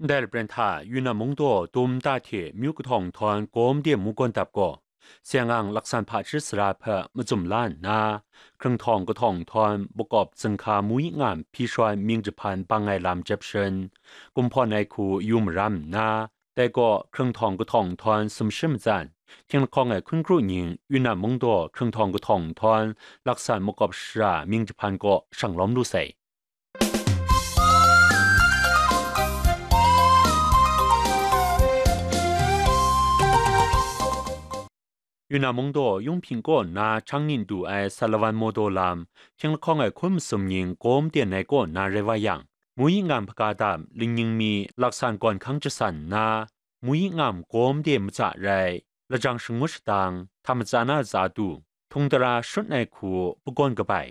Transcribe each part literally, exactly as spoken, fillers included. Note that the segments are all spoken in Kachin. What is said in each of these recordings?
Ndai lapren hta Yunnan mungdaw dum nta hte myu kahtawng nhtawm gawm de mu gawn dap gaw, Siang-ang laksan hpaji sara hpe macum la nna, hkrung htawng kahtawng nhtawm makawp zinghka muyi ngam hpyi shawan mying jahpan bang ai lam jep sharin, kumhpawn ai hku yu maram nna, dai gaw hkrung htawng kahtawng nhtawm sumshi matsan, htinglahkawng ai hkun kru ning Yunnan mungdaw hkrung htawng kahtawng nhtawm laksan makawp shara mying jahpan kaw shang lawm lu sai. Yunnan mungdaw Yunping kaw na Changnin du ai Satlawan Mawdaw lam, htinglahkawng ai hkun masum ning gawm ten ai kaw na rai wa yang, muyi ngam hpaga dam lingning mi laksan gawn hkang jasan nna, muyi ngam gawm de matsa rai, lajang shangut shadang, htam matsa na tsa du, htung tara shrut ai hku pagawn kabai,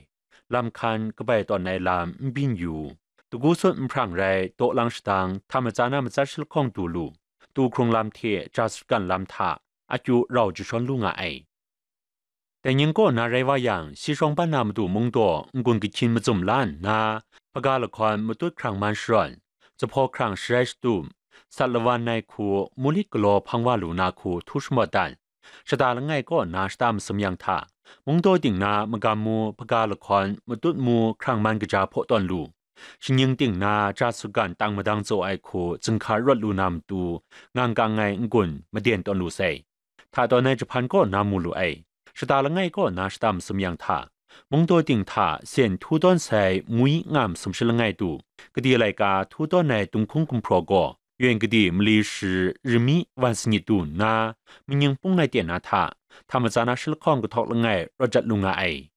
lam hkan kabai tawn ai lam n byin yu, dagu sut nhprang rai dawlang shadang, htam matsa na matsat shalahkawng du lu, tu hkrung lam hte ja sutgan lam hta akyu rau jashawn lu nga ai. Dai ning kaw na rai wa yang, si shawng ban na matu mungdaw n-gun kahkyin macum la nna, hpaga lahkawn matut hkrang man sharawn, zuphpawng hkrang sharai shatup, sat lawan ai hku mulit galaw hpang wa lu na hku htu shamawt dan, shata langai kaw na shata masum yang hta, mungdaw ting na magam mu hpaga lahkawn matut mu hkrang man kaja hpaw tawn lu, shingning ting na ja sutgan tang madang tsaw ai hku zinghka rawt lu na matu, ngang kang ai n-gun maden tawn lu sai. Hta tawn ai jahpan kaw na mu lu ai. Shata langai kaw na shata masum yang hta, mungdaw ting hta sen htu tawn sai muyi ngam sumshi langai du, gade laika htu tawn ai dunghkung gumhpraw gaw, yen gade mali shi rimi wan sanit du nna, manying pung lai ten na hta, htam matsa na shalahkawng kahtawk langai rawt jat lu nga ai.